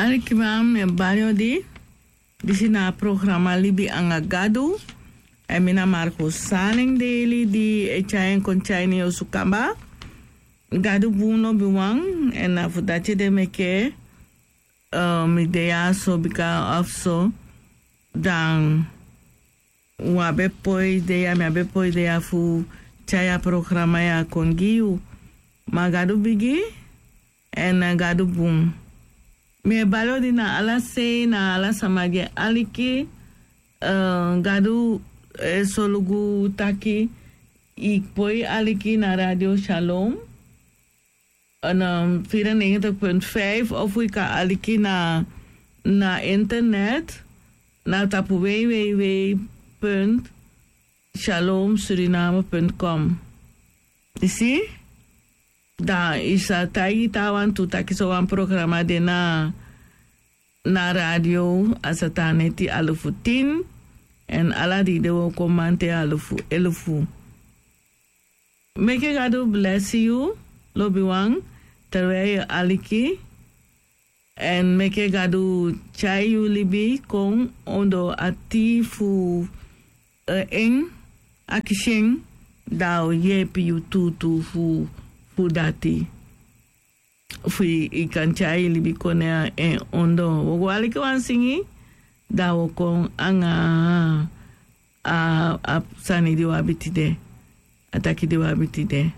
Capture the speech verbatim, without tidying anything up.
Alikiman, mi e bari odi. Disi na a programa Libi anga Gadu. Èn mi na Marco Saleng Deli di e tyai en kon tyai ini yu osu kaba. Gadu bun lobiwan, èn na fu dati ede meke, eh, mi de ya so bika of so, dan wi á be poi de ya, mi á be poi de ya fu tyai a programa ya kon gi yu. Ma Gadu bigi, èn, eh, Gadu bun. Mi e bari odi na ala sei, na ala sama di e aliki, eh, Gadu e solugu taki i poi aliki na Radio Shalom, en, um, vierennegentig punt vijf, of i kan aliki na, na internet, na tapu w w w punt shalom suriname punt com. I si? Dan i sa taigi taawan tu taki sowan programa de na, na radio, a sa tan neti alufu tin, èn ala dei de wi o kon mamanten alufu elufu. Meke Gadu blesi yu, lobiwan, terwijl yu e aliki. Èn meke Gadu tyai yu libi kon ondoo a tii fu, eh, en, akisi en, dan a o yeepi yu tuutuu fu, fu dati. Fu i, i kan tyai yu libi kon na en ondoo. Wi o go aliki wan singi, dan wi o kon anga a, a sani di wi abi tide. A taki di wi abi tide.